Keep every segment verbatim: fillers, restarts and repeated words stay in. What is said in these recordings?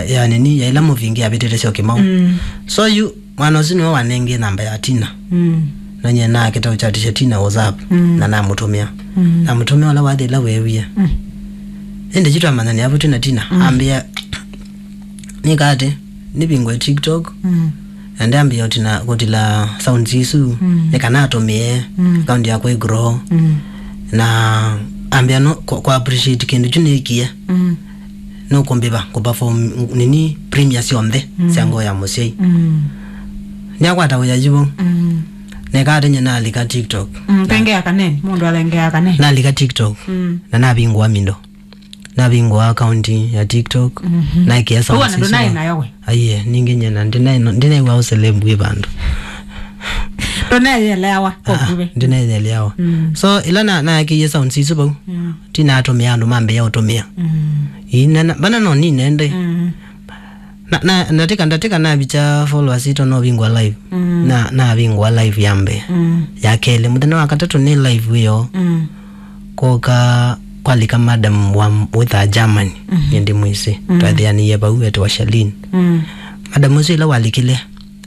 ya nini, ya ĩla mũvingi avĩtĩte syo Kĩmau. Mm. So yu, mwana ũsu nĩwe wanengie namba ya Tina. Mm. Na nyie nakĩta ũchatisha Tina WhatsApp, mm, na namũtũmĩa. Mm. Namũtũmĩa ũla wathi ĩla weewie. Mm. Ĩndĩ yu twamanyania vu twĩ na Tina, mm, ambĩa, nĩka atĩ, nĩvingũe TikTok, mm, na ndambĩa ũtina, kũtila sounds isu, mm, nĩ kana atũmĩe, mm, account yakwa ĩ grow. Mm. Na ambĩa no, kwa, kwa appreciate kĩndũ kyu nĩkie. Mm. Nũkũmbĩva kũperform nini premiere syonthe, mm, sya Ngoo ya Mũsyai. Mm. Nĩakwata wĩa yu vau. Mm. Neka atĩ nyie nalika TikTok. Mm, na tengea kaneni, mũndũ alengea kaneni. Nalika TikTok. Mm. Na navingũa mindo. Navingũa account ya TikTok. Mhm. Naĩkĩa sounds isu. Ũu ona ndũnaĩ nayo we? Aiye, ningĩ nyie na ndinaĩ-, ndinaĩw'a ũceleb wĩ vandũ. Ndũneyeleawa, ah, kwa kuve. Ndineyeleawa. Mm. So, ĩla na, naĩkĩie sounds isu vau, mm, Tina atũmĩa andũ mambĩĩa ũtũmĩa. Mm. Ii, na, na, vana no nine ndĩ. Mm. Na, na, ndatĩka, ndatĩka navikya followers itũ no vingũa live. Mm. Na, navingũa live ya mbee. Mm. Ya kelĩ, mũthenya wa katatũ nĩ live ĩyo. Mm. Kwoka kwalika madam wa wĩthaa Germany, mhm, nĩ ndĩmwĩsĩ. Mm. Twethĩanĩie vau etwa Shalin. Mm. Madam ũsu ĩla walikile,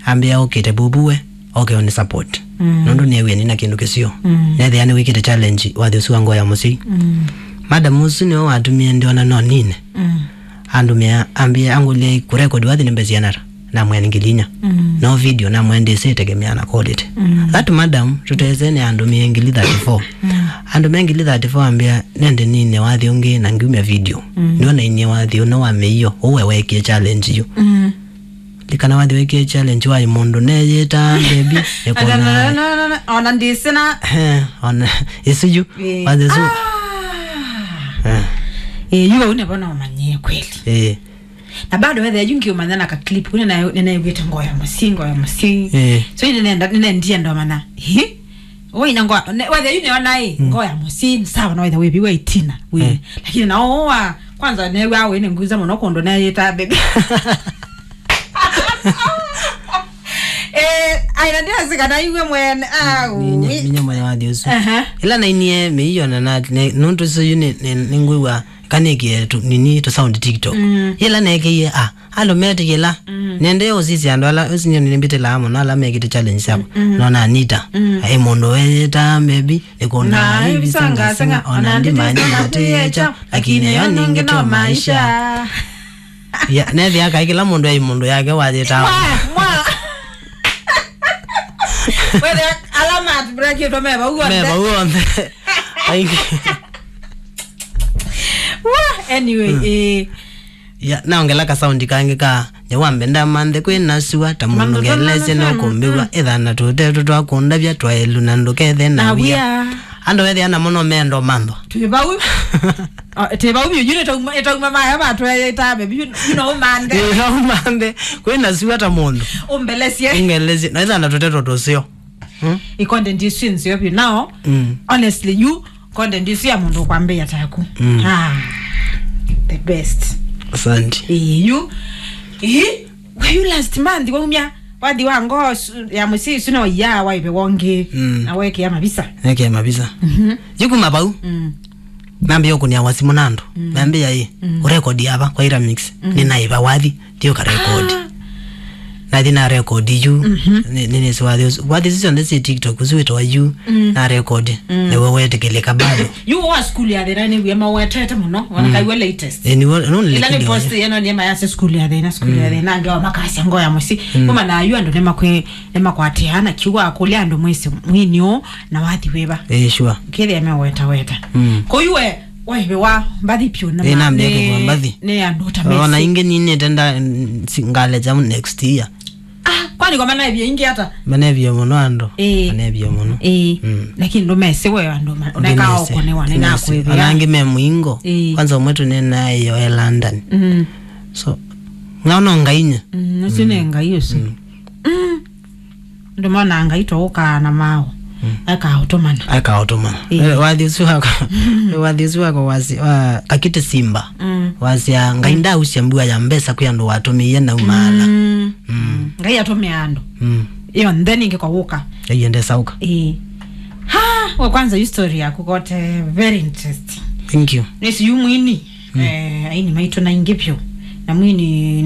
ambĩa okĩte vuvu we, oke ũnĩ support. Mm. Nũndũ nĩewie nina kĩndũ kĩseo. Mm. Nethĩa nĩwĩkĩte challenge wathi ũsu wa Ngoo ya Mũsyai. Mm. Madam ũsu nĩwe watumie ndĩona no nine. Mm. Andũmĩa, ambĩa angũlya kũrekodi wathi nĩ mbesa siana ata. Namwĩa nĩ ngili inya. Mm. No video namwĩa ndĩsĩ ĩtegemea na quality. Mm. That madam, tũtesene andũmĩe ngili thirty-four. Mm. Andũmĩa ngili thirty-four ambĩa, nende nine wathi ũngĩ na ngiumya video. Mm. Nĩwe nainie wathi ũno wa mĩio, ũwe wekie challenge yu. Mm. Likana wathi wekie challenge wa mũndũ neyĩta baby, nĩkona. Ona ndĩsĩ na. Eh, ona, ĩsu yu. Eh. Wathi ũsu. Ah. Eh. Eh, yu vau nĩvo naũmanyie kweli. Eh. Na bado wethĩa yu ngiũmanya na ka clip, kuna na, nĩnaĩw'ĩte Ngoo ya Mũsyai, Ngoo ya Mũsyai. Eh. So, yu nĩnenda, nĩnendie ndomana. Hi? Ũina Ngoo, ne, wethĩa yu nĩona ĩ, mm, Ngoo ya Mũsyai, sawa, no wethĩa wĩviwa ĩ Tina, wĩ. Eh. Lakini na ũũ wa, kwanza nĩw'a wĩ nĩ nguza mũno kũndũ neyĩta baby. Eh, aina ndĩasika na iwe mwene, au. Ninya, ninya mwene wathi ũsu. Aha. Ĩla nainie mĩio na, na, ne, nũndũ ũsu yu nĩ, nĩ, nĩngwĩw'a kanĩkie tu, nini, tu sound TikTok. Mm. Yĩla neekeie, ah, andũ metĩkĩla. Mm. Nende ũsisya andũ ala, ũsinyo nĩmbĩtĩlaa mũno ala mekĩte challenge syakwa. Mm, mm. Nona Anita. Mm. Ai mũndũ weyĩta, maybe, nĩkũna na ai visangasanga, ona ndimanya na tũyĩkya, lakini yo ningĩ no maisha. Ya, nethĩa kai kĩla mũndũ ai mũndũ yake wayĩtaa. Mwa, mwa. Wethĩa ala mat break itwa me vau onthe. Me vau onthe. Aingĩ. Wah, anyway, mm, eh. Ya, naongela ka sound kangĩ ka, nyawambe ndamanthe kwĩ na sua, ta mũndũ ngelesye no kũmbĩw'a, ĩthana tũtetũ twakũndavya twaĩlu na ndũkethe na wia. Andũ ethĩa namo no mendo manthwa. Twĩ vau. Ah, twĩ vau vyũ, yu nĩtauma, ĩtauma maya matweyĩtabe, yu, yu no ũmanthe. Ĩ, no ũmanthe. Kwĩ na sua ta mũndũ. Ũmbelesye. Ũngelesye. Na ĩthana tũtetũ tũseo. Hmm? Ĩ content isu nzeo vyũ. Now, mm, honestly, you content isu ya mũndũ ũkwambĩĩa taku. Mm. Ah, the best. Asante. Ĩ, you, ĩ, were you last month waumya wathi wa Ngoo su-, ya Mũsyai isu na waiya waive wongi, mm, na wekea mavisa? Wekea mavisa. Mhm. Yu kuma vau. Mm. Nambia ũkũnia wasimũ na andũ. Mm. Nambia ĩ, mm, ũrekodi ava kwa ira mix. Mm. Nĩnaĩva wathi. Thiĩ ũkarekodi. Ah. Nathi narekodi yu. Mhm. Nĩ, nĩ, nĩsĩ wathi ũsu. Wathi isu syonthe syĩ TikTok, ũsu wĩtawa yu. Mm. Narekodi. Mm. Nĩwe wetĩkĩlĩka bado. Yu wa school ya thĩna nĩw'e mawetete mũno. Ona, mm, kaiwa latest. Eh, nĩwe, no nĩ ĩla nĩ post yeno nĩ mayase school ya thĩna, school ya, mm, thĩna, angĩ wa makasya Ngoo ya Mũsyai. Mm. Kuma na yu andũ nĩmakwe-, nĩmakwatĩaa na kiugo akũlya andũ mwĩsĩ mwini ũũ na wathi wĩva. Eh, sure. Kĩthĩa mewetaweta. Mm. Kũu we, waive wa mbathi pyũ na. Eh, ma-, nambia nĩ, kũva mbathi. Nĩ andũ ta ona mesi. Ingĩ ninĩte nda, n-, si-, ngaleja next year. Ah, kwani kwa manevie ingĩ ata? Manevie mũno andũ. Eh. Manevie mũno. Eh. Mm. Lakini ndũmesĩ we andũ ma-, mekawa ũkonewa nĩ nakwĩvĩa. Ona angĩ me mũingo. Eh. Kwanza ũmwe tũnenaĩo e London. Mm. So, ng'ao no Ngai nye. Mm, ũcio nĩ Ngai ũcio. Mm. Mm. Ndũmona Ngai tũũkaa na maũ. Mm. Akaũtũmana. Akaũtũmana. Ĩĩ. Eh, wathi ũsu wakwa, wathi ũsu wakwa wasi-, wa Kakiti Simba. Mm. Wasya, Ngai, mm, ndausya mbua ya mbesa kwĩ andũ watũmĩie na umaala. Mm. Mm. Ngai atũmĩa andũ. Mm. Ĩyo nthĩ ningĩ kwa wũka. Ĩĩ, ndesauka. Ĩĩ. Ha, wa kwanza, history yaku kote very interesting. Thank you. Nĩsi yu mwini. Mm. Eh, aini maitũ na ingĩ vyũ. Na mwini